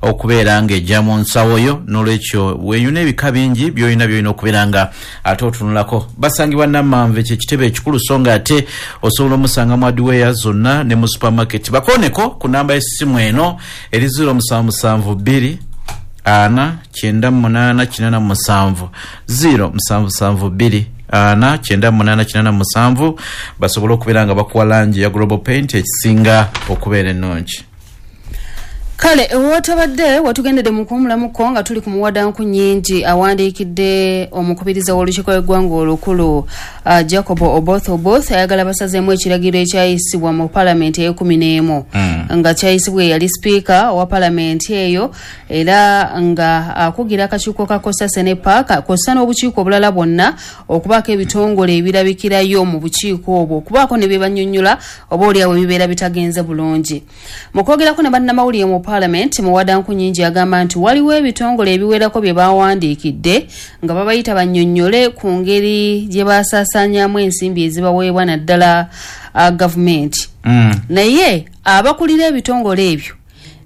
okubeera ng'ejja mu nsawo yo. N'olwekyo weeyuna ebika bingi byolina byolina okubeera nga ate otunulako. Basangibwa Nammanve, kyekitebe ekikulu, so nga ate osobola omusanga mu hardware zonna ne mu supermarket. Bakoneko ku namba y'essimu eno eri 0772 4 98 87, 0772 4 98 87, basobole okubeera nga bakuwa langi ya Global Paint ekisinga okubeera ennungi. Kale wotabadde watugendedde mu kuwumulamuko nga tuli ku Muwadanku Nyingi awandiikidde omukubiriza w'olukiiko lw'eggwanga olukulu, Jacob Oboth Oboth, ayagala basazeemu ekiragiro ekyayisibwa mu palamenti ey'e11 nga kyayisibwa eyali sipiika owa palamenti eyo, era nga akugira akakiiko ka COSASE ne PAC kw'ossa n'obukiiko obulala bwonna okubaako ebitongole ebirabikirayo mu bukiiko obwo, okubaako ne bye bannyonnyola oba oliawo ebibeera bitagenze bulungi. Mu kwogerako ne bannamawulire mu palamenti, Muwadanku Nyingi agamba nti waliwo ebitongole ebiwerako bye bawandiikidde nga babayita bannyonnyole ku ngeri gye basaasaanyaamu ensimbi ezibaweebwa naddala gavumenti, naye abakulira ebitongole ebyo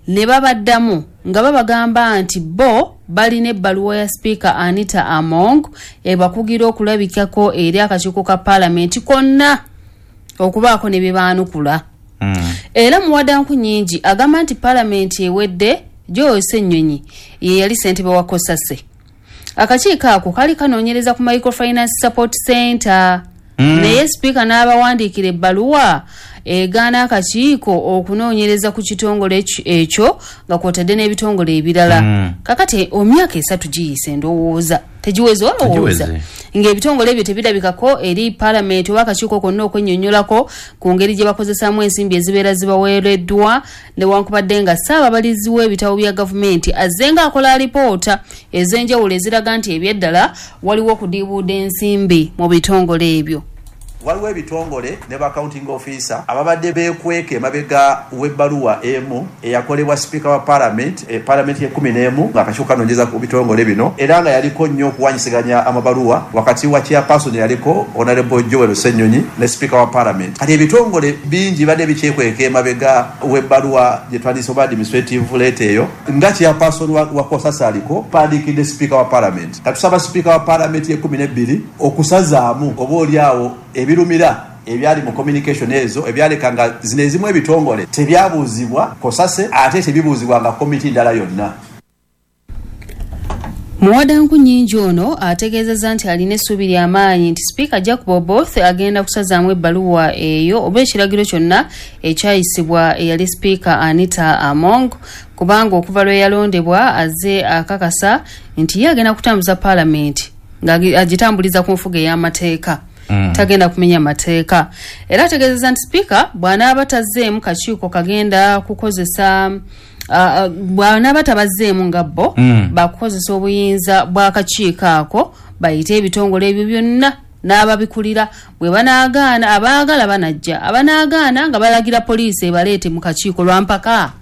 ne babaddamu nga babagamba nti bo balina ebbaluwa ya sipiika Anita Among ebakugira okulabikako eri akakiiko ka paalamenti konna okubaako ne bye baanukula. Era Muwadanku Nyingi agamba nti paalamenti ewedde Joel Ssenyonyi ye yali ssentebe wa COSASE. Akakiiko ako kali kanoonyereza ku Microfinance Support Center, naye sipiika n'abawandiikira ebbaluwa egaana akakiiko okunoonyereza ku kitongole ekyo nga kwotadde n'ebitongole ebirala. Kakati emyaka 3 giyise, ndowooza tegiweze, olowooza ng'ebitongole ebyo tebirabikako eri paalamenti oba akakiiko konna okwennyonnyolako ku ngeri gye bakozesaamu ensimbi ezibeera zibaweereddwa, newankubadde nga ssaababalizi w'ebitabo bya gavumenti azze ng'akola alipoota ez'enjawulo eziraga nti ebyeddala waliwo okudiibuuda ensimbi mu bitongole ebyo. Waliwo ebitongole ne ba accounting officer ababadde beekweka emabega w'ebbaluwa emu eyakolebwa sipiika wa parliament, parliament ye-11, ng'akakiiko kanoonyereza ku bitongole bino, era nga yaliko nnyo okuwanyisiganya amabaluwa wakati wa chairperson yaliko Honorable Joel Ssenyonyi ne sipiika wa parliament. Kati ebitongole bingi bibadde bikyekweka emabega w'ebbaluwa gye twandiyise oba administrative letter eyo. Nga chairperson wa COSASE aliko pandiikidde sipiika wa parliament, katusaba sipiika wa parliament ye-12 okusazaamu oba oli awo ebirumira ebyali mu communication ezo ebyaleka nga zino ezimu ebitongole tebyabuuzibwa COSASE ate tebibuuzibwa nga komiti ndala yonna. Muwadanku Nyingi ono ategeezezza nti alina essuubi ly'amaanyi nti sipiika Jacob Oboth agenda kusazaamu ebbaluwa eyo oba ekiragiro kyonna ekyayisibwa eyali sipiika Anita Among, kubanga okuva lwe yalondebwa azze akakasa nti ye agenda kutambuza paalamenti ng'agitambuliza ku nfuga ey'amateeka, tagenda kumenya mateeka. Era ategeezezza nti sipiika bw'anaaba tazzeemu kakiiko kagenda kukozesa, bw'anaaba tabazzeemu nga bo bakukozesa obuyinza bw'akakiiko ako bayite ebitongole ebyo byonna n'ababikulira, bwe banaagaana abaagala banajja, abanaagaana nga balagira poliisi ebaleete mu kakiiko lwampaka.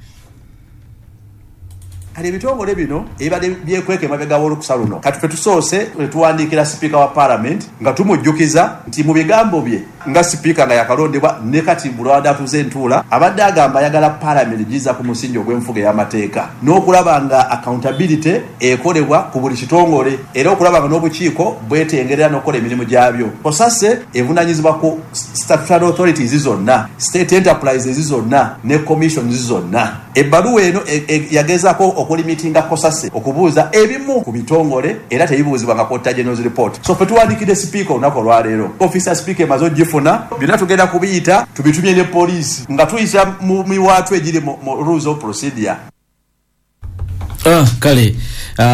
Kati ebitongole bino ebibadde byekweka emabega w'olukusa luno, kati ffe tusoose ne tuwandiikira sipiika wa parliament nga tumujjukiza nti mu bigambo bye nga sipiika nga yakalondebwa ne kati bulwadde atuuze entuula, abadde agamba ayagala parliament giza ku musingi ogw'enfuga ey'amateeka n'okulaba nga accountability ekolebwa ku buli kitongole, era okulaba nga n'obukiiko bwetengerera n'okukola emirimu gyabyo. COSASE evunaanyizibwa ku statutory authorities zonna, state enterprises zonna ne commissions zonna. Ebbaluwa eno yagezaako okulimitinga COSASE okubuuza ebimu ku bitongole era tebibuuzibwa nga Auditor General's report. So ffe tuwandiikidde sipiika olunaku olwaleero, ofiisi ya sipiika emaze ogifuna, byonna tugenda kubiyita tubitumye ne poliisi nga tuyita mu miwaatwa egiri mu rules of procedure. Kale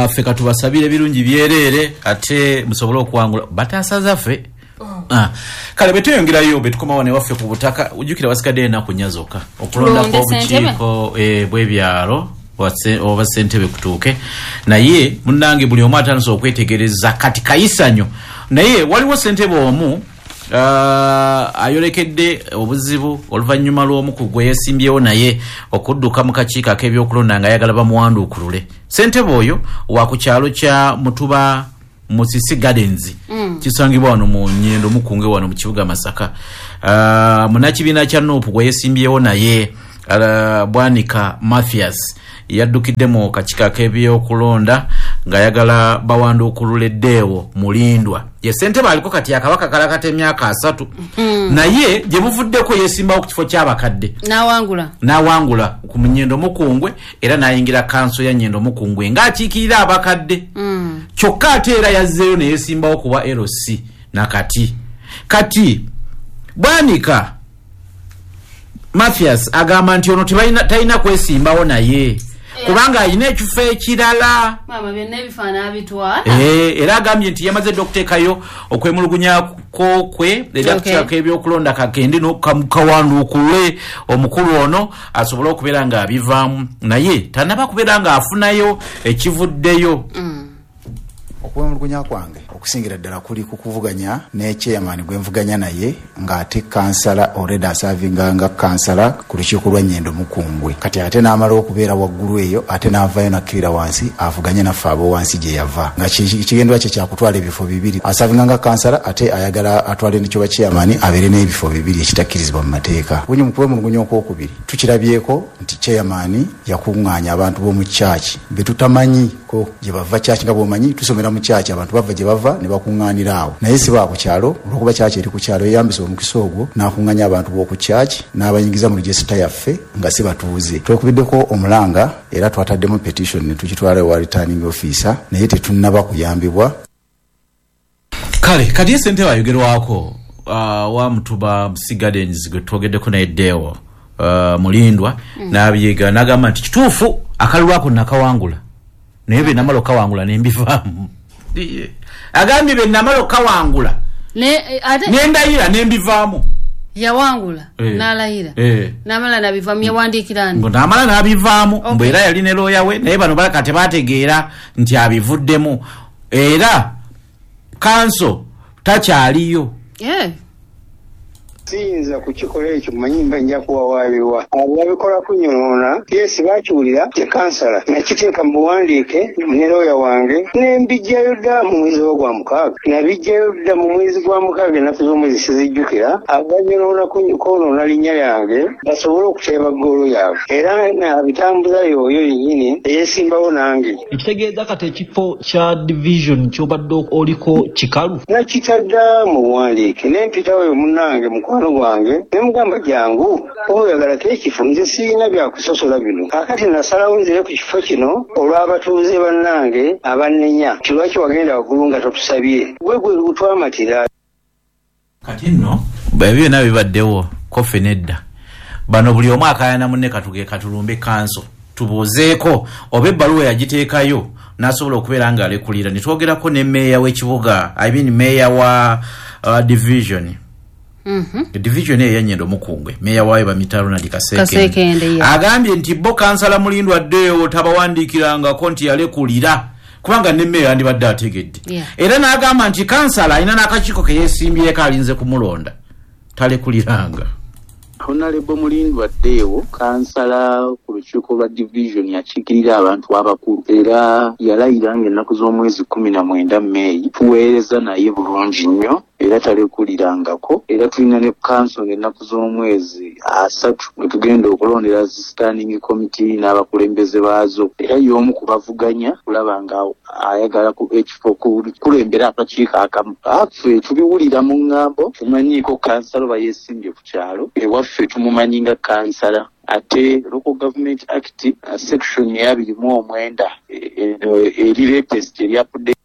ffe katubasabire ebirungi byereere ate musobole okuwangula bataasa zaffe. Kale bwe tweyongerayo bwe tukomawo ne waffe ku butaka, ujjukira wasigaddeyo ennaku 4 zokka okulondako obukiiko bw'ebyalo oba ssentebe kutuuke, naye munnange buli omu atandise okwetegereza kati kayisanyo. Naye waliwo ssentebe omu ayolekedde obuzibu oluvannyuma lw'omu ku gwe yeesimbyewo naye okudduka mu kakiiko ak'ebyokulonda ng'ayagala bamuwanduukulule. Ssentebe oyo wa ku kyalo kya Mutuba Musisi Gardens, kisangibwa wano mu Nyendo Mukunge wano mu kibuga Masaka. Munnakibiina kya NUP gwe yeesimbyewo naye Bwanika Mathias yaddukidde mu kakiiko ak'ebyokulonda ng'ayagala bawanduukulule Deo Mulindwa. Ye ssentebe aliko kati akabaka kalakata emyaka 3, naye gye buvuddeko yeesimbawo ku kifo ky'abakadde n'awangula ku Nyendo Mukungwe, era n'ayingira kanso ya Nyendo Mukungwe ng'akiikirira abakadde. Kyokka ate era yazzeeyo ne yeesimbawo ku bwa LC nakati. Kati Bwanika Mathias agamba nti ono talina kwesimbawo naye kubanga alina ekifo ekirala. Maama, byonna ebifaanana abitwala. Era agambye nti yamaze dda okuteekayo okwemulugunyako kwe eri akakiiko ebyokulonda kagende kawanduukule omukulu ono asobole okubeera ng'abivaamu, naye tannaba kubeera ng'afunayo ekivuddeyo. Okwemulugunya kwange okusingira ddala kuli ku kuvuganya ne chairman gwe nvuganya naye ng'ate kansala already asavinga nga kansala ku lukiiko lwa Nyendo Mukungwe. Kati ate n'amala okubeera waggulu eyo, ate n'avaayo n'akkirira wansi avuganye naffe abo wansi gye yava, nga kigendwa kye kyakutwala ebifo 2. Asavinga nga kansala ate ayagala atwale nekyoba chairman abeere n'ebifo 2 ekitakkirizibwa mu mateeka. Bunyi mu kwemulugunya okwokubiri tukirabyeko nti chairman yakuŋŋaanya abantu b'omu church be tutamanyiko gye bava. Church nga bw'omanyi tusomera mu church, abantu bava gye bava ne bakuŋŋaanira awo, naye si ba ku kyalo. Olwokuba church eri ku kyalo, yeyambisa omukisa ogwo n'akuŋŋaanya abantu b'oku church n'abayingiza mu register yaffe nga si batuuze. Twekubiddeko omulanga era twataddemu petition ne tukitwala ewa returning officer, naye tetunnaba kuyambibwa. Kale kati ye ssentebe ayogerwako wa Mutuba Sea Gardens gwe twogeddeko naye Deo Mulindwa n'abyega n'agamba nti kituufu akalulu ako nakawangula, naye bye namala okawangula ne mbivaamu. Agambye bye namala okawangula nendayira nembivaamu. Yawangula n'alayira n'amala n'abivaamu. Yawandiikira ani? N'amala n'abivaamu, mbu era yali ne looya we, naye bano balaka tebategeera nti abivuddemu, era kanso takyaliyo. Siyinza kukikola ekyo, mmanyi mba nja kuwawaabirwa. Abo babikola kunyonoona. Yes, baakiwulira ye kansala, nakiteeka mu buwandiike ne looya wange ne mbijjayo dda mu mwezi gwa 6. Nabijjayo dda mu mwezi gwa 6, ennaku z'omwezi sizijjukira. Abo banyonoona kwonoona linnya lyange basobole okuteeba ggoolo yaabwe, era nabitambuza y'oyo yennyini eyeesimbawo nange. Ekitegeeza kati ekifo kya division ky'obadde oliko kikalu? Nakitadda mu buwandiike ne mpitawo munnange mukwano gwange ne mugamba jangu oyagalako ekifo, nze sirina byakusosola bino. Kaakati nasalawo nzire ku kifo kino olw'abatuuze bannange abannenya nti lwaki wagenda waggulu nga totusabye, gwe gwe gutwamatira. Kati nno ebyo byonna bibaddewo koffe nedda. Bano buli omu akaayana munne, katuge katulumbe kanso tubuuzeeko oba ebbaluwa yagiteekayo n'asobola okubeera ng'alekulira. Ne twogerako ne meeya w'ekibuga, I mean meeya wa division. Division eyo ya Nyendo Mukungwe, meeya waayo bamuyita Ronald Kasekende, agambye nti bo kansala Mulindwa Deo tabawandiikirangako nti yalekulira, kubanga ne meeya yandibadde ategedde. Era n'agamba nti kansala alina n'akakiiko ke yeesimbyeko alinze kumulonda, talekuliranga. Honorable Mulindwa Deo kansala ku lukiiko lwa division yakiikirira abantu abakulu, era yalayira ng'ennaku z'omwezi 19 Meeyi. Tuweereza naye bulungi nnyo era talekulirangako, era tulina ne kanso ng'ennaku z'omwezi 3 mwe tugenda okulondera zi standing committee n'abakulembeze baazo, era y'omu ku bavuganya kulaba nga ayagala ekifo kulembera akakiiko akamu. Ffe tubiwulira mu ŋŋambo, tumanyiiko kansala oba yeesimbye ku kyalo, ewaffe tumumanyi nga kansala. Ate Local Government Act section ya 29 eri latest eri update.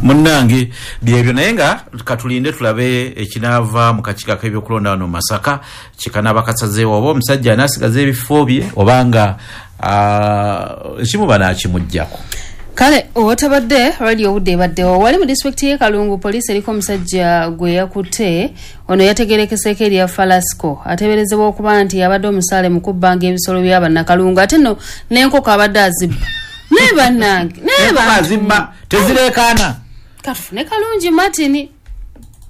Munnange byebyo, naye nga katulinde tulabe ekinaava mu kakiiko ak'ebyokulonda wano Masaka kikanaaba kasazeewo oba omusajja anaasigaza ebifo bye obanga ekimu banaakimuggyako. Kale otabadde radio obudde ebaddewo. Wali mu disitulikiti y'e Kalungu, poliisi eriko omusajja gwe yakutte. Ono yategerekeseeko erya Falasco, ateeberezebwa okuba nti abadde omusaale mu kubbanga ebisolo by'abannakalungu, ate nno n'enkoko abadde azibba. Naye bannange, naye azibba tezireekaana. Katufune Kalungi Martin.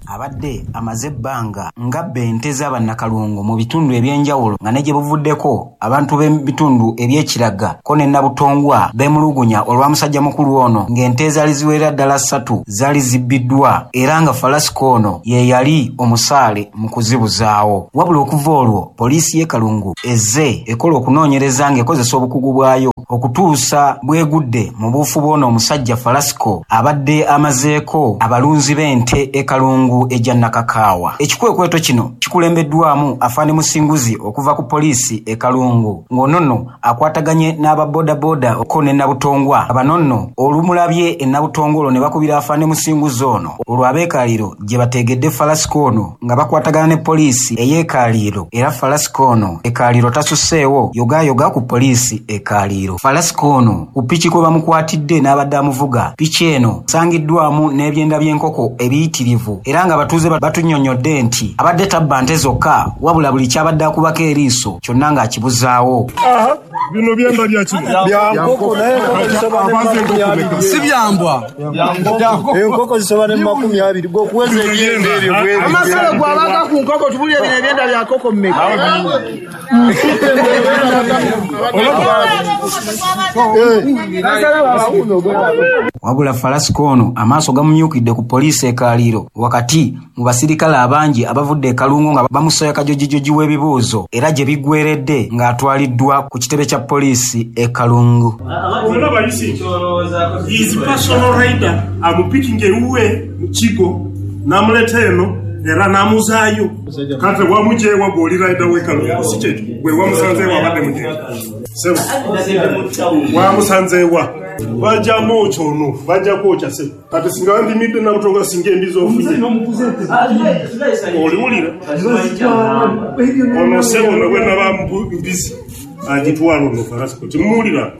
Abadde amaze ebbanga ng'abba ente z'abannakalungu mu bitundu eby'enjawulo, nga ne gye buvuddeko abantu b'ebitundu eby'Ekiraga ko ne Nabutongwa beemulugunya olwa musajja mukulu ono, ng'ente ezaali ziwerera ddala 3 zaali zibbiddwa, era nga Falasiko ono ye yali omusaale mu kuzibuzaawo. Wabula okuva olwo poliisi y'e Kalungu ezze ekola okunoonyereza ng'ekozesa obukugu bwayo okutuusa bwegudde mu buufu bw'ono omusajja Falasiko abadde amazeeko abalunzi b'ente e Kalungu ejja Nakakaawa. Ekikwekweto kino kikulembeddwamu Afande Musinguzi okuva ku poliisi e Kalungu, ng'ono nno akwataganye n'ababoodabooda ko ne Nabutongwa. Abano nno olumulabye e Nabutongwa olwo ne bakubira Afande Musinguzi ono, olwo ab'Ekaliiro gye bateegedde Falasiko ono nga bakwatagana ne poliisi ey'Ekaliiro, era Falasiko ono Ekaliiro tasusseewo yogaayoga ku poliisi e Kaliiro. Falasiko ono ku piki kwe bamukwatidde n'abadde amuvuga, piki eno sangiddwamu n'ebyenda by'enkoko ebiyitirivu, era nga abatuuze batunnyonnyodde nti abadde tabba nte zokka, wabula buli ky'abadde akubako eriiso kyonna ng'akibuzaawo. Bino byenda bya kino bya nkoko, naye enkoko si byambwa, enkoko zisoba ne 20 gwokuweza ebyenda ebyo bwe amasalo gwabaga ku nkoko. Tubulye bino ebyenda bya nkoko mmeka? Wabula Falasiko ono amaaso gamumyukidde ku poliisi e Kaliiro wakati mu basirikale abangi abavudde e Kalungu nga bamusoya kajojijoji w'ebibuuzo, era gye biggweredde ng'atwaliddwa ku kitebe kya poliisi e Kalungu. Olaba yusi his personal rider amupikinga ewuwe mu kigo n'amuleeta eno era n'amuzaayo. Kati wamujeewa gw'oli rider w'e Kalungu, si kyekyo? Gwe wamusanzeewa abadde mugenda sebo, wamusanzeewa bajja mwokya ono, bajja kwokya sebo. Kati singa wandimidde Nabutonga singa embizi ofunye oliwulira ono sebo ne bwe naba mbizi agitwala ono Falasiko timuwulira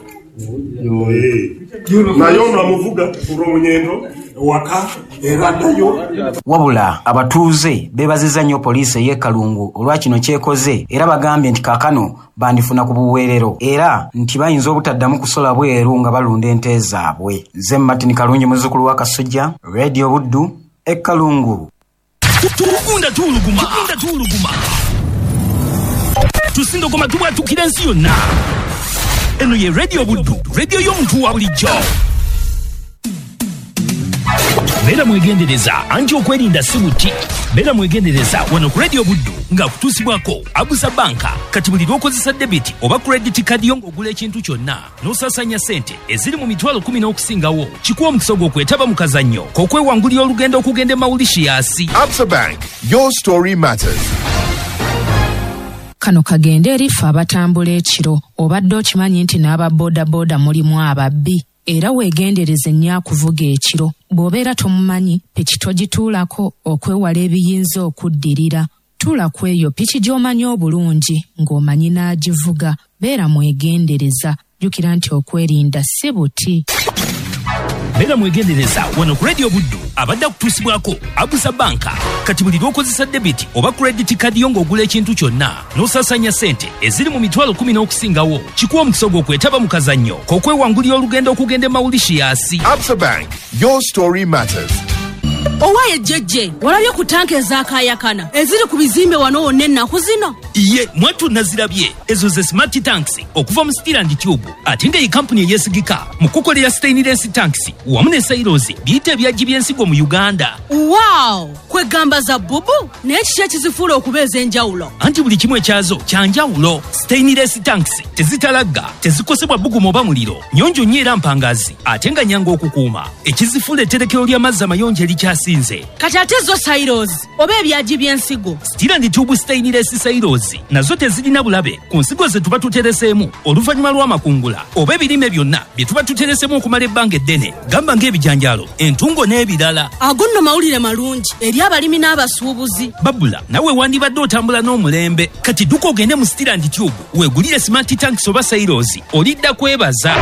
naye ono amuvuga olw'omunyendo waka era addayo. Wabula abatuuze beebazizza nnyo poliisi ey'e Kalungu olwa kino kyekoze, era bagambye nti kaakano bandifuna ku buweerero, era nti bayinza obutaddamu kusola bweru nga balunda ente zaabwe. Nze Martin Kalungi, muzzukulu wa Kasujja, Radio Buddu e Kalungu. Tugunda tuwuluguma, tuwuluguma, tusindogoma, tubwatukira ensi yonna. Eno ye Radio Buddu, radio y'omuntu wa bulijjo. Beera mwegendereza, anti okwerinda si buti. Beera mwegendereza wano ku Radio Buddu nga kutuusibwako Abusa Banka. Kati buli lw'okozesa debit oba credit card yo ng'ogula ekintu kyonna n'osaasaanya ssente eziri mu 10,000 n'okusingawo, kikuwa omukisa gw'okwetaba mu kazannyo k'okwewangulira olugendo okugenda e Mauritius. Absa Bank, your story matters. Kano kagende eri ffe abatambula ekiro. Obadde okimanyi nti n'aba boodabooda mulimu ababbi, era weegendereze nnyo akuvuga ekiro. Bw'obeera tomumanyi, piki togituulako okwewala ebiyinza okuddirira. Tuula ku eyo piki gy'omanyi obulungi ng'omanyi n'agivuga. Beera mwegendereza, jjukira nti okwerinda si buti. Beera mwegendereza wano ku Radio Buddu abadde akutuusibwako Abusa Banka. Kati buli lw'okozesa debit oba credit card yo ng'ogula ekintu kyonna n'osaasaanya ssente eziri mu 10,000 n'okusingawo, kikuwa omukisa gw'okwetaba mu kazannyo k'okwewangulira olugendo okugenda e Mauritius. Absa Bank, your story matters. Owaye jjejje, walabye ku tanka ezaakaayakana eziri ku bizimbe wano wonna ennaku zino? Ye mwattu nazirabye, ezo ze smart tanks okuva mu Steel and Tube, ate nga ye kampuni eyeesigika mu kukolera stainless tanks wamu ne silos biyita ebyagi by'ensigo mu Uganda. Wow, kwegamba za bubu, naye kiki ekizifuula okuba ez'enjawulo? Anti buli kimu ekyazo kya njawulo. Stainless tanks tezitalagga, tezikosebwa bbugumu oba muliro, nnyonjo nnyo era mpangazi, ate nga nnyangu okukuuma. Ekizifuula etterekero ly'amazzi amayonjo erikyasinze. Kati ate zo silos oba ebyagi by'ensigo? Steel and Tube stainless silos nazo tezirina bulabe ku nsigo ze tuba tutereseemu oluvannyuma lw'amakungula oba ebirime byonna bye tuba tutereseemu okumala ebbanga eddene, gamba ng'ebijanjaalo, entungo n'ebirala. Ago nno mawulire malungi eri abalimi n'abasuubuzi. Babula nawe wandibadde otambula n'omulembe. Kati dduka ogende mu Steel and Tube weegulire smart tanks oba silos, olidda kwebaza.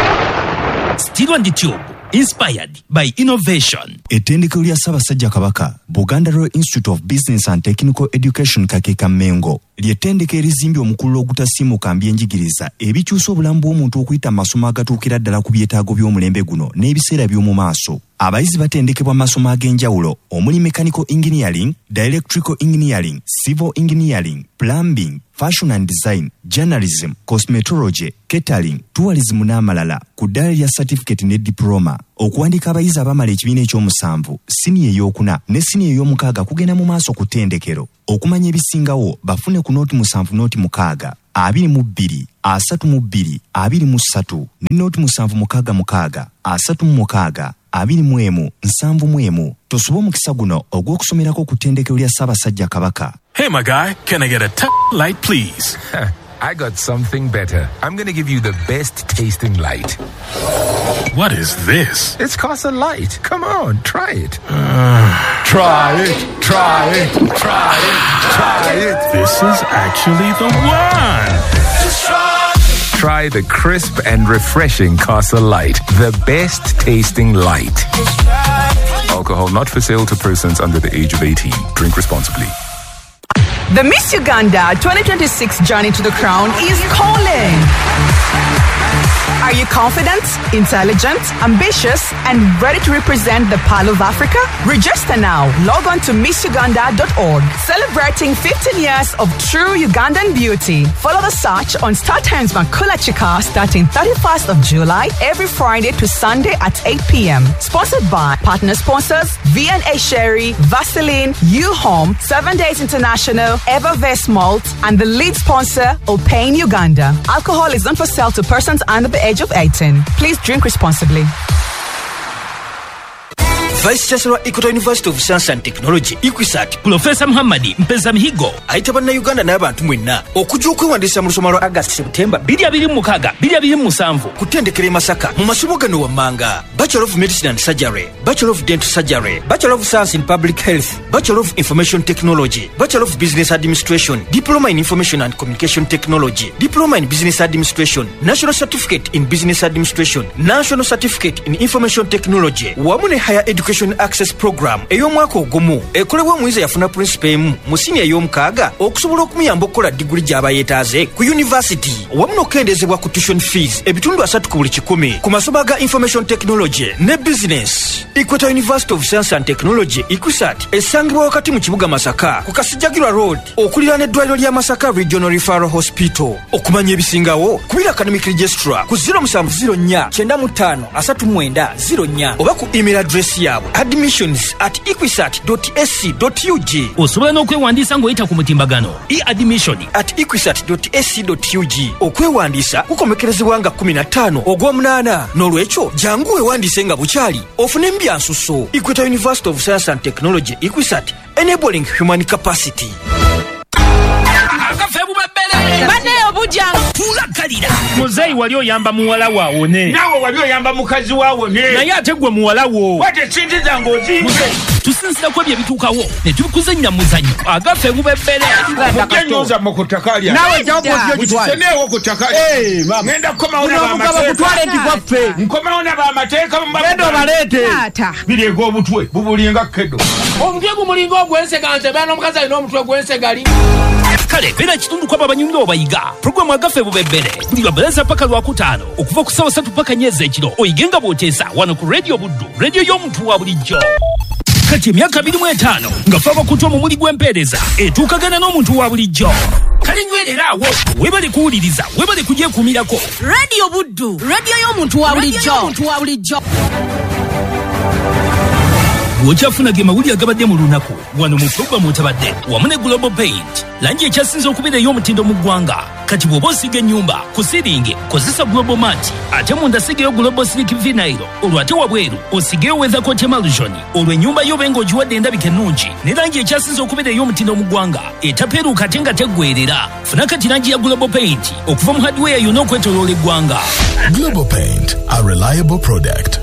Steel and Tube, inspired by innovation. Ettendekero lya Ssaabasajja Kabaka, Buganda Royal Institute of Business and Technical Education Kakeeka Mmengo, ly'ettendekero erizimbye omukululo ogutasiimuka mbyenjigiriza ebikyusa obulamu bw'omuntu okuyita mu masomo agatuukira ddala ku byetaago by'omulembe guno n'ebiseera by'omu maaso. Abayizi batendekebwa masomo ag'enjawulo omuli mechanical engineering, electrical engineering, civil engineering, plumbing, fashion and design, journalism, cosmetology, catering, tourism n'amalala ku ddaala lya certificate ne diploma. Okuwandiika abayizi abamala ekibiina ekyomusanvu, siniya ey'okuna ne siniya ey'omukaaga kugenda mu maaso ku ttendekero. Okumanya ebisingawo bafune ku 07 06 22 32 23 ne 0766 36 21 71. Tosuba omukisa guno ogw'okusomerako ku ttendekero lya Ssaabasajja Kabaka. Hey, my guy, can I get a light, please? I got something better. I'm going to give you the best tasting light. What is this? It's Casa Light. Come on, try it. Try it, try it, try it, try it. This is actually the one. Just try it. Try the crisp and refreshing Casa Light, the best tasting light. Alcohol not for sale to persons under the age of 18. Drink responsibly. The Miss Uganda 2026 Journey to the Crown is calling. Are you confident, intelligent, ambitious, and ready to represent the Pearl of Africa? Register now. Log on to missuganda.org. Celebrating 15 years of true Ugandan beauty. Follow the search on StarTimes Makula Chika starting 31st of July every Friday to Sunday at 8 p.m. Sponsored by partner sponsors V&A Sherry, Vaseline, U-Home, 7 Days International, Evervest Malt, and the lead sponsor, Opane Uganda. Alcohol is not for sale to persons under the age of 18. Please drink responsibly. Vice Chancellor Equator University of Science and Technology EQUSAT Professor Muhammad Mpeza Mihigo ayita bannayuganda n'abantu mwenna okujja okwewandiisa mu lusoma lwa August September 2026 2027 ku ttendekero e Masaka mu masomo gano wammanga: Bachelor of Medicine and Surgery, Bachelor of Dental Surgery, Bachelor of Science in Public Health, Bachelor of Information Technology, Bachelor of Business Administration, Diploma in Information and Communication Technology, Diploma in Business Administration, National Certificate in Business Administration, National Certificate in Information Technology wamu ne Higher Education Access Program ey'omwaka ogumu ekolebwa omuyizi eyafuna principal emu mu siniya ey'omukaaga okusobola okumuyamba okukola diguli gy'aba yeetaaze ku university wamu n'okukendeezebwa ku tuition fees 30% ku buli 100 ku masomo aga Information Technology ne Business. Equator University of Science and Technology EQUSAT esangibwa wakati mu kibuga Masaka ku Kasijjagirwa Road okuliraana eddwaliro lya Masaka Regional Referral Hospital. Okumanya ebisingawo kubira academic registrar ku 0704 95 39 04 oba ku email address yaabwe admissions@equisat.ac.ug. Osobola n'okwewandiisa ng'oyita ku mutimbagano e-admission@equisat.ac.ug. Okwewandiisa kukomekerezebwa nga 15 ogw'omunaana. N'olwekyo jangu weewandiise nga bukyali ofune embyansuso. Equator University of Science and Technology EQUSAT, enabling human capacity. Muzeeyi wali oyamba muwala waawone, naawe wali oyamba mukazi waawone, naye ate gwe muwala wo wate sente zange ozinze. Tusinzira ku ebyo ebituukawo ne tubikuzannya muzannyo agaffe gubebbere. Mujje nnyonza mu ku ttaka lyange. Naawe jjawo ku ttaka lyange. Ngenda kukomawo n'abamateeka. Nkomawo n'abamateeka. Genda obaleete. Bireega obutwe bubulinga kedo. Omutwe gumulinga ogw'ensega nze beera n'omukazi alina omutwe gw'ensegali. Kale beera kitundu kw'abo abanyumira obayiga. Pulogulaamu agaffe bubebbere buli lwa Bbalaza paka Lwakutaano okuva ku ssaawa 3 paka 4 ez'ekiro oyige nga bw'oteesa wano ku Radio Buddu, radio y'omuntu wa bulijjo. Kati emyaka 25 nga fe abakutu omumuli gw'empeereza etuukagana n'omuntu wa bulijjo. Kale nywerera awo, weebale kuwuliriza, weebale kugyekuumirako. Radio Buddu, radio y'omuntu wa bulijjo. Bw'okyafuna ge mawulire agabadde mu lunaku wano mu pulogulaamu otabadde wamu ne Global Paint, langi ekyasinze okubeera ey'omutindo mu ggwanga. Kati bw'oba osiiga ennyumba ku siringi kozesa Global Mat, ate munda sigayo Global Silk Vinyl, olwo ate wabweru osigeyo Weathercoat Emulsion, olwo ennyumba yo obe ng'ogiwadde endabika ennungi ne langi ekyasinze okubeera ey'omutindo mu ggwanga etapeeruuka ate nga teggweerera. Funa kati langi ya Global Paint okuva mu hardware yonna okwetooloola eggwanga. Global Paint, a reliable product.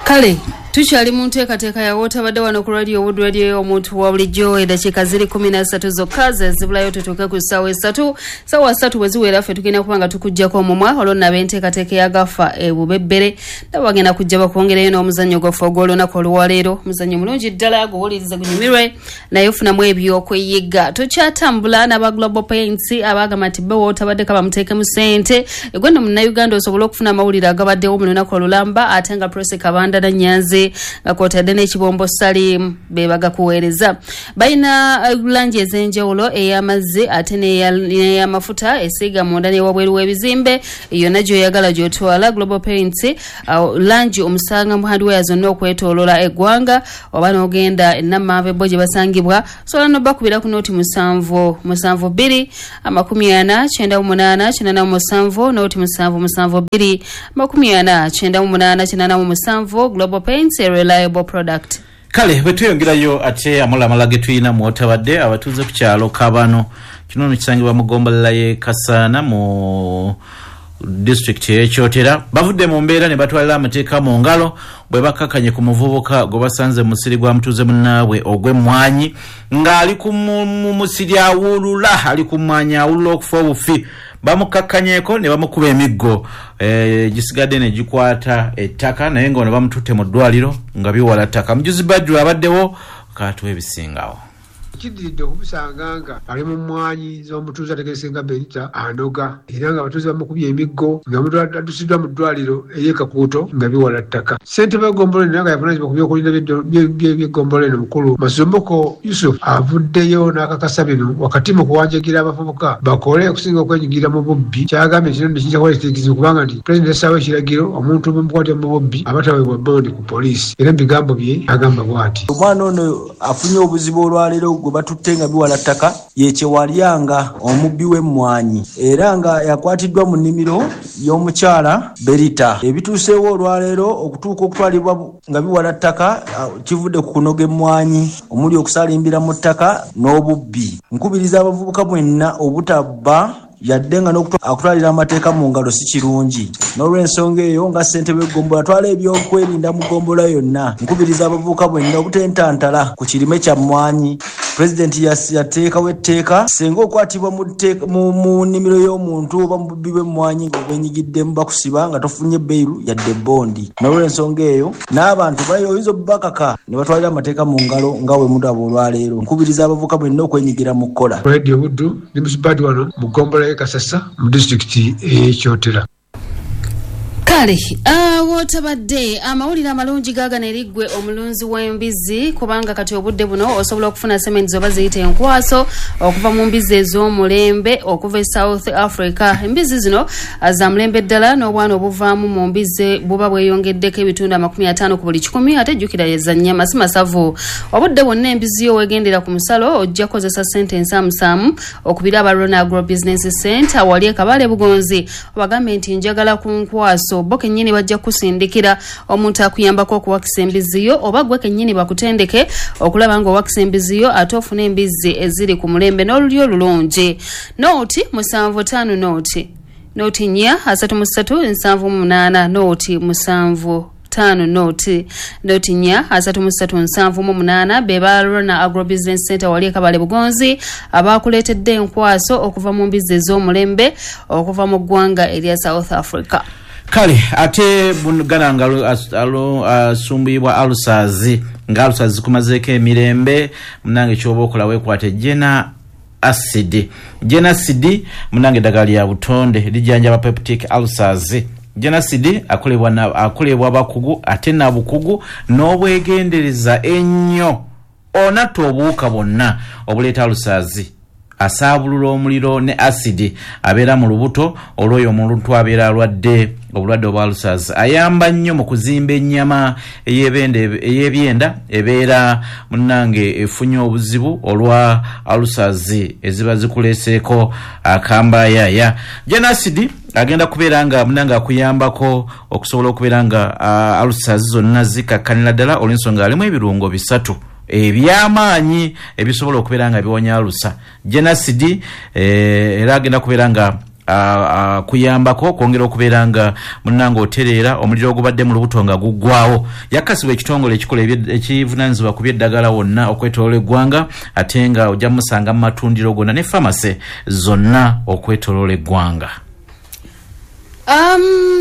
Kale Tukyali mu nteekateeka ya Wootabadde wano ku Radio Wood Radio y'omuntu wa bulijjo. Eddakiika ziri 13 zokka ze zibulayo tutuuke ku ssaawa 3. Ssaawa 3 bwe ziwera ffe tugenda kuba nga tukuggyako omumwa, olwo nno ab'enteekateeka ya Gafa ebubebbere nabo bagenda kujja bakwongereyo n'omuzannyo gwaffe ogw'olunaku olwaleero. Omuzannyo mulungi ddala, guwulirize gunyumirwe naye ofunamu ebyokweyiga. Tukyatambula n'aba Global Paints abagamba nti bo Wootabadde kabamuteekemu ssente egwe nno Munnayuganda osobole okufuna amawulire agabaddewo mu lunaku olulamba, ate nga Prossy Kabanda na Nyanzi nga kwotadde n'ekibombo Salim be bagakuweereza. Balina langi ez'enjawulo, ey'amazzi ate n'ey'amafuta, esiiga munda n'ewabweru w'ebizimbe, yonna gy'oyagala gy'otwala. Global Paints langi omusanga mu hardware zonna okwetoolola eggwanga, oba n'ogenda Nammanve bo gye basangibwa. Osobola n'obakubira ku nooti 7 7 2 40 98 87, nooti 7 7 2 40 98 87. Global Paints, a reliable product. Kale bwe tweyongerayo ate amulamala ge tulina mu Wootabadde, abatuuze ku kyalo Kabano, kino nno kisangibwa mu ggombolola y'e Kasaana mu disitulikiti y'e Kyotera, bavudde mu mbeera ne batwalira amateeka mu ngalo bwe bakkakanye ku muvubuka gwe basanze mu musiri gwa mutuuze munnaabwe ogw'emmwanyi ng'ali ku musiri awulula, ali ku mmwanyi awulula okufa obufi. Bamukakkanyeeko ne bamukuba emiggo gisigadde ne gikwata ettaka, naye nga ono bamututte mu ddwaliro nga biwala ttaka. Mujuzi Badru abaddewo kaatuwa ebisingawo. Kiddiridde okumusanga nga ali mu mmwanyi z'omutuuze ategeerekese nga Benita anoga, era nga abatuuze bamukubye emiggo nga addusiddwa mu ddwaliro ery'e Kakuuto nga biwala ttaka. Ssentebe w'eggombolola eno nga yavunaanyizibwa ku by'okulinda by'eggombolola eno mukulu Masumbuko Yusuf avuddeyo n'akakasa bino wakati mu kuwanjagira abavubuka bakole okusinga okwenyigira mu bubbi. Kyagambye nti kino kiyinza kuba ekizibu kubanga nti pulezidenti yassaawo ekiragiro omuntu bwemukwatira mu bubbi aba taweebwa bondi ku poliisi, era mu bigambo bye agamba bw'ati: Omwana ono afunye obuzibu olwaleero gwe batutte nga biwala ttaka, ye Kyewalyanga omubbi w'emmwanyi, era nga yakwatiddwa mu nnimiro y'omukyala Berita. Ebituuseewo olwaleero okutuuka okutwalibwa nga biwala ttaka kivudde ku kunoga emmwanyi omuli okusalimbira mu ttaka n'obubbi. Nkubiriza abavubuka mwenna obutabba yadde nga n'okutwalira amateeka mu ngalo si kirungi. N'olw'ensonga eyo nga ssentebe w'eggombolola atwala ebyokwerinda mu ggombolola yonna, nkubiriza abavubuka mwenna obutentantala ku kirime kya mmwanyi. Pulezidenti yateekawo etteeka singa okwatibwa mu nnimiro y'omuntu oba mu bubbi bw'emmwanyi ng'obwenyigiddemu bakusiba nga tofunye beiru yadde bondi. N'olw'ensonga eyo n'abantu oyinza obbakaka ne batwalira amateeka mu ngalo nga bwe mulaba olwaleero. Nkubiriza abavubuka mwenna okwenyigira mu kukola. Radio Buddu ndi Musubadi wano mu ggombolola y'e Kasasa mu disitulikiti ey'e Kyotera. Kale Wootabadde amawulire amalungi gaagano eri ggwe omulunzi w'embizzi, kubanga kati obudde buno osobola okufuna sementi oba ziyite enkwaso okuva mu mbizzi ez'omulembe okuva e South Africa. Embizzi zino za mulembe ddala n'obwana obuvaamu mu mbizzi buba bweyongeddeko ebitundu 50 ku buli 100, ate jjukira za nnyama si masavu. Obudde bwonna embizzi yo weegendera ku musalo ojja kukozesa ssente ensaamusaamu okubira aba Rona Agro Business Center wali e Kabale Bugonzi, obagambe nti njagala ku nkwaso. Bo kennyini bajja kusindikira omuntu akuyambako okuwakisa embizzi yo, oba gwe kennyini bakutendeke okulaba ng'owakisa embizzi yo ate ofune embizzi eziri ku mulembe n'olulyo olulungi. Nooti 75 nooti nooti 4 33 78 nooti 7 5 nooti nooti 4 33 78 be ba Rona Agro Business Center wali e Kabale Bugonzi abakuleetedde enkwaso okuva mu mbizzi ez'omulembe okuva mu ggwanga erya South Africa. Kale ate gana nga asumbuyibwa alusazi nga alusazi zikumazeeko emirembe, munange kyoba okola weekwate Jena Acid. Jena Acid munange eddagala lya butonde lijjanjaba peptic ulcers. Jena Acid akolebwa bakugu ate na bukugu n'obwegendereza ennyo, onatta obuwuka bwonna obuleeta alusazi, asaabulula omuliro ne acid abeera mu lubuto olw'oyo omuntu abeera alwadde obulwadde obwa ulcers. Ayamba nnyo mu kuzimba ennyama ey'ebyenda ebeera munnange efunye obuzibu olwa ulcers eziba zikuleeseeko akambayaaya. Jena Acid agenda kubeera nga munnange akuyambako okusobola okubeera nga ulcers zonna zikakkanira ddala olw'ensonga alimu ebirungo 3 ebyamaanyi ebisobola okubeera nga biwonya alusa. Jena Acid era agenda kubeera nga Kuyambako okwongera okubeera nga munnange otereera omuliro ogubadde mu lubuto nga guggwawo. Yakasibwa ekitongole ekikola ekivunaanyizibwa ku by'eddagala wonna okwetooloola eggwanga, ate nga ojja musanga mu matundiro gonna ne famase zonna okwetooloola eggwanga.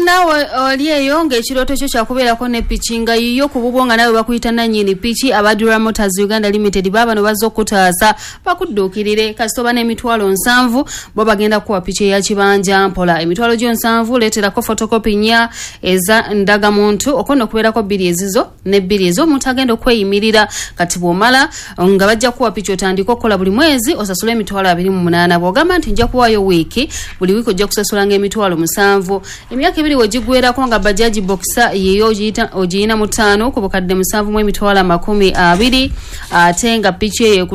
Nawe oli eyo ng'ekirooto kyo kyakubeerako ne piki nga yiyo ku bubwo nga nawe bakuyita nannyini piki, aba Dura Motors Uganda Limited baabano bazze okutaasa bakudduukirire. Kasita oba n'70,000 bo bagenda kukuwa piki eya kibanja mpola. 70,000 leeterako photocopy 4 eza ndagamuntu, okwo nno okubeerako 2 ezizo ne 2 ez'omuntu agenda okweyimirira. Kati bw'omala nga bajja kukuwa piki otandike okukola buli mwezi osasule 28,000. Bw'ogamba nti nja kuwaayo wiiki, buli wiiki ojja kusasulanga 7,000. Emyaka 2 wegigwerako nga Bajaji Boxer yeyo ogiyina 5 ku 7,720,000, ate nga piki eyo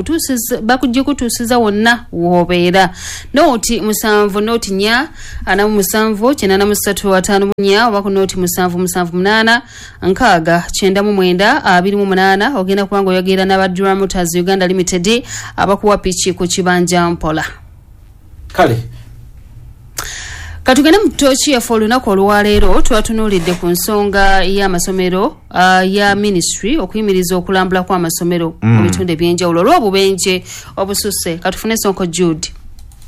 bakugikutuusiza wonna w'obeera. Nooti 7 nooti 4 47 83 54 oba ku nooti 7 7 8 6 99 28 ogenda kubanga oyogera n'aba Dura Motors Uganda Limited abakuwa piki ku kibanja mpola. Kale katugende mu ttooki yaffe olunaku olwaleero. Twatunuulidde ku nsonga y'amasomero ya ministry okuyimiriza okulambula kw'amasomero mu bitundu ebyenjawulo olw'obubenje obususse. Katufune Sonko Jude.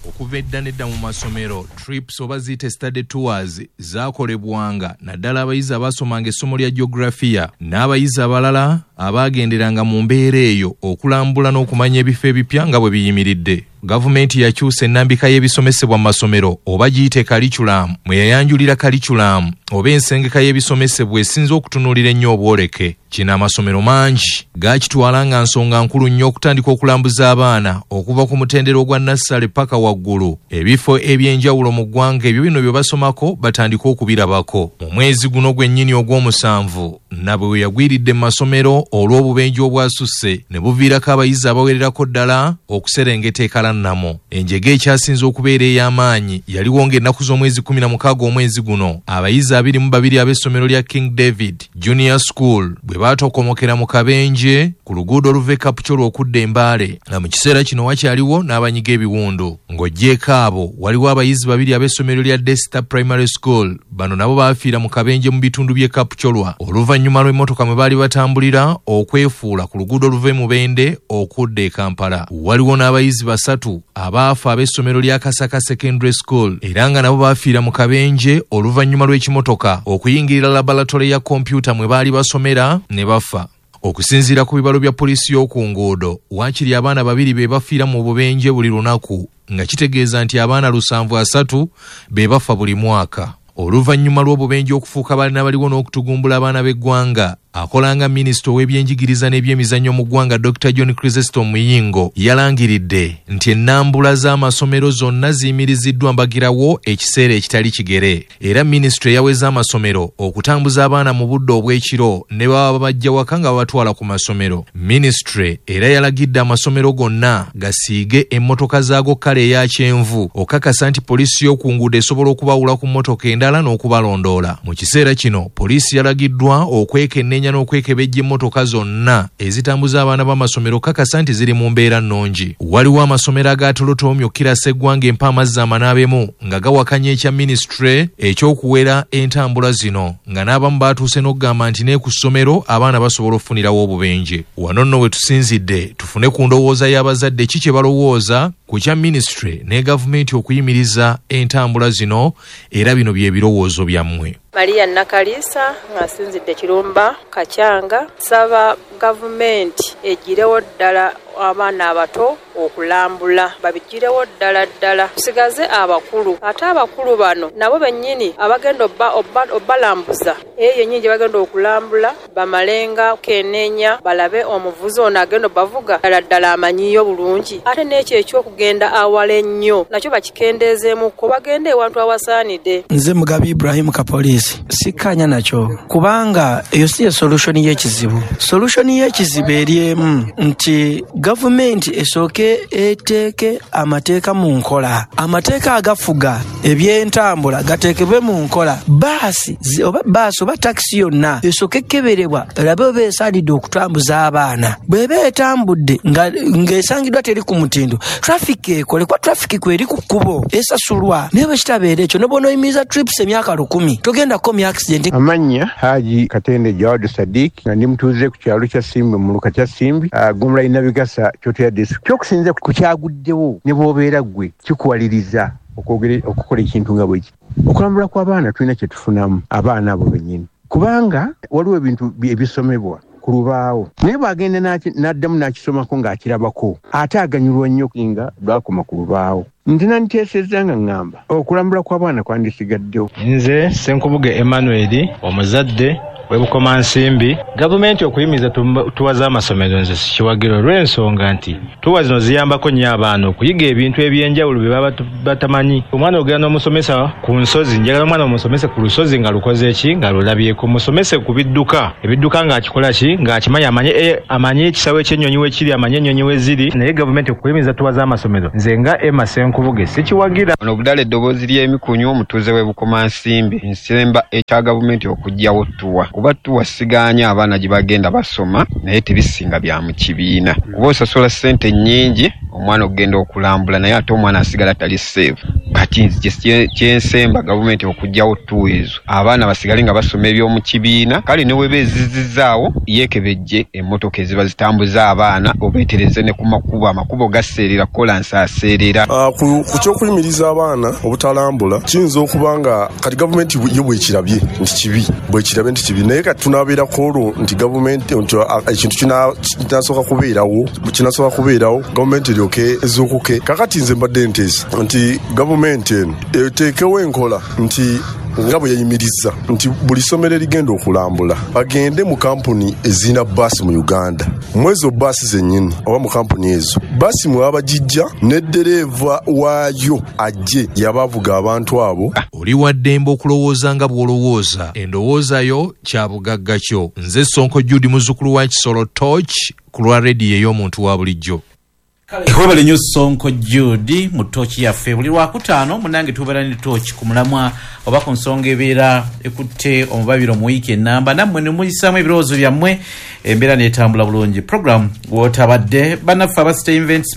Okuva edda nedda mu masomero trips oba ziyite study tours zaakolebwanga, naddala abayizi abaasomanga essomo lya geografiya n'abayizi abalala abaagenderanga mu mbeera eyo okulambula n'okumanya ebifo ebipya nga bwe biyimiridde. Gavumenti yakyusa ennambika y'ebisomesebwa mu masomero oba giyite curriculum, mwe yayanjulira curriculum oba ensengeka y'ebisomesebwa esinze okutunuulira ennyo obwoleke. Kino amasomero mangi gaakitwala nga nsonga nkulu nnyo okutandika okulambuza abaana okuva ku mutendera ogwa nassale paka waggulu ebifo ebyenjawulo mu ggwanga ebyo bino bye basomako batandike okubirabako. Mu mwezi guno gwennyini ogw'omusanvu nabwe we yagwiridde mu masomero olw'obubenje obwasusse ne buviirako abayizi abawererako ddala okuserengeta ekalannamo. Enjega ekyasinze okubeera ey'amaanyi yaliwo ng'ennaku z'omwezi 16 omwezi guno abayizi 22 ab'essomero lya King David Junior School bwe baatokomokera mu kabenje ku luguudo oluva e Kapchorwa okudda e Mbale, nga mu kiseera kino wakyaliwo n'abanyiga ebiwundu. Ng'oggyeeko abo waliwo abayizi 2 ab'essomero lya Desta Primary School, bano nabo baafiira mu kabenje mu bitundu by'e Kapchorwa oluvannyuma lw'emmotoka mwe baali batambulira okwefuula ku luguudo oluva e Mubende okudda e Kampala. Waliwo n'abayizi 3 abaafa ab'essomero lya Kasaka Secondary School era nga nabo baafiira mu kabenje oluvannyuma lw'ekimotoka okuyingirira laboratory ya kompyuta mwe baali basomera ne bafa. Okusinziira ku bibalo bya poliisi y'oku nguudo, waakiri abaana 2 be bafiira mu bubenje buli lunaku, nga kitegeeza nti abaana 730 be bafa buli mwaka. Oluvannyuma lw'obubenje okufuuka balina baliwo n'okutugumbula abaana b'eggwanga, akolanga minisita ow'ebyenjigiriza n'ebyemizannyo mu ggwanga Dr. John Chrysostom Muyingo yalangiridde nti ennambula z'amasomero zonna ziyimiriziddwa mbagirawo ekiseera ekitali kigere. Era minisitule yaweza amasomero okutambuza abaana mu budde obw'ekiro ne baba bajja waka nga babatwala ku masomero. Minisitule era yalagidde amasomero gonna gasiige emmotoka zaago kkala eya kyenvu okakasa nti poliisi y'oku nguudo esobola okubawula ku mmotoka endala n'okubalondoola. Mu kiseera kino poliisi yalagiddwa okwekenneenya n'okwekebejja emmotoka zonna ezitambuza abaana b'amasomero kakasa nti ziri mu mbeera nnungi. Waliwo amasomero agaatolotoomye okukirasa eggwanga empa amazzi amanaabemu nga gawakanya ekya minisitule ekyokuwera entambula zino, nga n'abamu baatuuse n'okugamba nti ne ku ssomero abaana basobola okufunirawo obubenje. Wano nno we tusinzidde tufune ku ndowooza y'abazadde ki kye balowooza ku kya minisitule ne gavumenti okuyimiriza entambula zino, era bino bye birowoozo byammwe. Maria Nakalisa nga nsinzidde Kirumba Kacyanga, nsaba gavumenti egirewo ddala abaana abato okulambula, babigirewo ddala ddala, tusigaze abakulu. Ate abakulu bano nabo bennyini abagenda obbalambuza eyo yennyini gye bagenda okulambula bamalenga kenenya balabe omuvuzi ono agenda obbavuga ddala ddala amanyiyo bulungi. Ate n'ekyo ekyokugenda awala ennyo nakyo bakikendeezeemukko, bagende ewantu awasaanidde. Nze Mugabi Ibrahim Kapoliisi, sikkanya nakyo kubanga eyo si ye solution y'ekizibu. Solution y'ekizibu eri emu nti gavumenti esooke Esooke eteeke amateeka mu nkola, amateeka agafuga ebyentambula gateekebwe mu nkola. Baasi oba baasi oba takisi yonna esooke ekkeberebwa erabe oba esaanidde okutambuza abaana. Bw'eba etambudde ng'esangiddwa teri ku mutindo, traffic ekole, kuba traffic kweri ku kkubo esasulwa. Naye bwe kitabeera ekyo, ne bw'onooyimiriza trips emyaka 1000 togenda kukomya accident. Amannya Haji Katende Jawad Sadiq, nga ndi mutuuze ku kyalo kya Simbi mu muluka kya Simbi, Ggombolola y'e Nabigasa, Kyotera District. Ky'okusinziira ku kyaguddewo ne bw'obeera ggwe kikuwaliriza okukola ekintu nga bweki. Okulambula kw'abaana tulina kye tufunamu abaana abo bennyini, kubanga waliwo ebintu ebisomebwa ku lubaawo, naye bw'agenda n'addamu n'akisomako ng'akirabako, ate aganyulwa nnyo nga lwakoma ku lubaawo. Nze nanditeesezza nga ŋŋamba okulambula kw'abaana kwandisigaddewo. Nze Ssenkubuge Emmanuel, omuzadde w'e Bukomansimbi. Gavumenti okuyimiriza tuwa z'amasomero nze sikiwagira, olw'ensonga nti tuwa zino ziyambako nnyo abaana okuyiga ebintu eby'enjawulo bye baba batamanyi. Omwana ogenda n'omusomesa ku nsozi, njagala omwana omusomese ku lusozi nga lukoze ki, nga lulabyeko, musomese ku bidduka, ebidduka ng'akikola ki, ng'akimanyi, amanye ekisawo eky'ennyonyi we kiri, amanye ennyonyi we ziri. Naye gavumenti okuyimiriza tuwa z'amasomero nze nga Emma Ssenkubuge sikiwagira. Ono Obudala eddoboozi ly'emikunyu, omutuuze w'e Bukomansimbi, nsemba ekya gavumenti okuggyawo tuwa, kuba tuwa siganya abaana gye bagenda basoma, naye tebisinga bya mu kibiina, kuba osasula ssente nnyingi omwana okugenda okulambula, naye ate omwana asigala tali safe. Kati nze kyensemba gavumenti okuggyawo tuwa ezo, abaana basigale nga basoma eby'omu kibiina. Kale ne weba ezizizaawo yeekebejje emmotoka eziba zitambuza abaana, obeetereze ne ku makubo, amakubo gaseerera, kolansi aseerera. Ku ky'okuyimiriza abaana obutalambula, kiyinza okuba nga kati gavumenti yo bwekirabye nti kibi, bwekirabye nti kibi, naye kati tunaabeerako olwo nti gavumenti nti ekintu kinasooka kubeerawo, gavumenti eryoke ezuukuke. Kakati nze mbadde nteesa nti gavumenti eno eteekewo enkola nti nga bwe yayimiriza nti buli ssomero erigenda okulambula bagende mu kampuni ezirina baasi mu Uganda, mu ezo baasi zennyini oba mu kampuni ezo baasi mwe baba bagijja ne ddereeva waayo ajje yaba avuga abantu abo. Oli wa ddembe okulowooza nga bw'olowooza, endowooza yo kya bugagga kyo. Nze Sonko Jude, muzzukulu wa Kisolo Torch, ku lwa rediyo ey'omuntu wa bulijjo. Webale nnyo Sonko Jude mu ttooki yaffe. Buli Lwakutaano munnange tubeera ne ttooki ku mulamwa oba ku nsonga ebeera ekutte omubabiro mu wiiki ennamba, nammwe ne muyisaamu ebirowoozo byammwe, embeera n'etambula bulungi. Program w'otabadde bannaffe aba City Events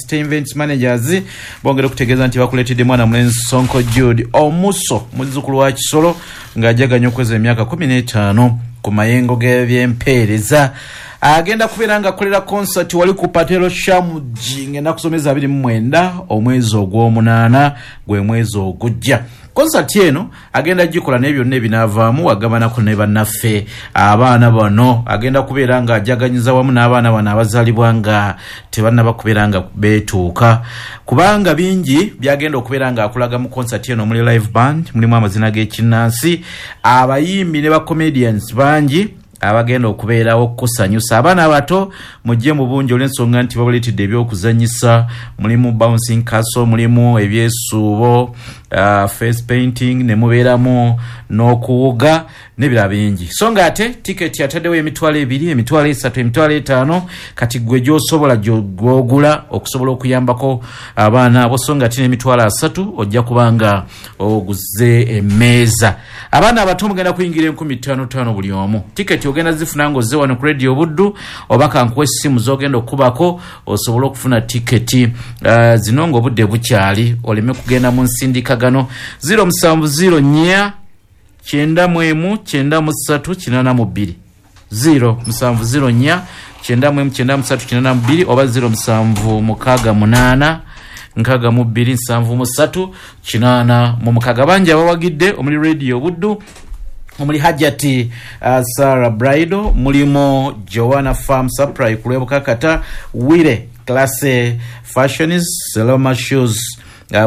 City Events Managers bongera okutegeeza nti bakuleetedde mwana mulenzi Sonko Jude omuso, muzzukulu wa Kisolo, ng'ajaganya okweza emyaka 15 ku mayengo g'ebyempeereza. Agenda kubeera nga akolera concert wali ku Patelo Shamuji ng'ennaku z'omwezi 29 omwezi ogw'omunaana, gwe mwezi ogujja. Concert eno agenda gikola naye byonna ebinaavaamu wagabanako ne bannaffe abaana bano. Agenda kubeera nga ajaganyiza wamu n'abaana bano abazaalibwa nga tebannaba kubeera nga beetuuka, kubanga bingi byagenda okubeera nga akulaga mu concert eno, omuli live band, mulimu amazina g'ekinnansi, abayimbi ne ba comedians bangi abagenda okubeerawo okukusanyusa. Abaana abato mujje mu bungi olw'ensonga nti babaleetedde eby'okuzannyisa, mulimu bouncing castle, mulimu ebyesuubo, face painting, ne mubeeramu n'okuwuga n'ebirala bingi. So nga ate tiketi ataddewo 2000, 3000, 5000, kati gwe gy'osobola gy'ogula okusobola okuyambako abaana abo. So nga ate n'30,000 ojja kuba nga oguze emmeeza. Abaana abato mugenda kuyingira 5,000 buli omu. Tiketi ogenda zifuna ng'ozze wano ku Radio Buddu, oba kankuwa essimu z'ogenda okukubako osobole okufuna tiketi zino ng'obudde bukyali, oleme kugenda mu nsindikagano. 0704 91 93 82, 0704 91 93 82 oba 0768 62 73 86. Bangi abawagidde omuli Radio Buddu, omuli Hajati Sarah Braido, mulimu Joanna Farm Supply ku lw'Ebukakata, Wire Classe Fashions, Seloma Shoes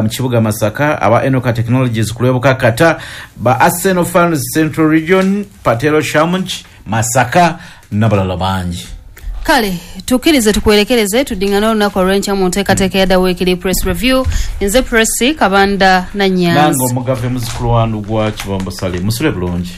mu kibuga Masaka, aba Enoka Technologies ku lw'Ebukakata, ba Arsenal Fans Central Region, Patelo Shamunj Masaka n'abalala bangi. Kale tukkirize tukwerekereze tuddingane olunaku olw'enkya mu nteekateeka ya The Weekly Press Review. Nze Presi Kabanda Nange Nanyanzi. Omugave muzukulu wa Ndugwa Kibombo Salim, musule bulungi.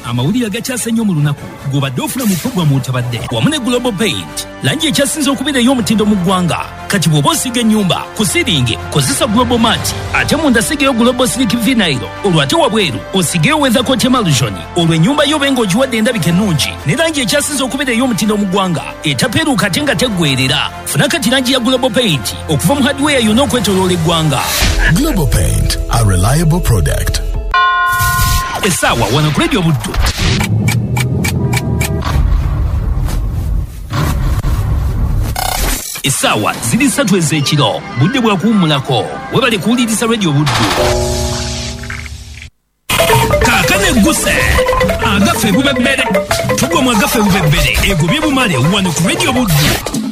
Amawulire agakyase ennyo mu lunaku gobadde ofuna mu puroguramu otabadde wamu ne Global Paint, langi ekyasinze okubeera ey'omutindo mu ggwanga. Kati bw'oba osiiga ennyumba ku siringi kozesa Global Mat, ate munda sigayo Global Silk Vinyl, olwo ate wabweru osigeyo Weathercoat Emulsion, olwo ennyumba yo obe ng'ogiwadde endabika ennungi ne langi ekyasinze okubeera ey'omutindo mu ggwanga etapeeruuka ate nga teggweerera. Funa kati langi ya Global Paint okuva mu hardware yonna okwetooloola eggwanga. Global Paint, a reliable product. Essaawa wano ku Radio Buddu essaawa ziri 3 ez'ekiro, budde bwa kuwummulako. Webale kuwuliriza Radio Buddu. Kaakano egguse agaffe bubebbere, tugwa mu agaffe bubebbere egobye bumale wano ku Radio Buddu.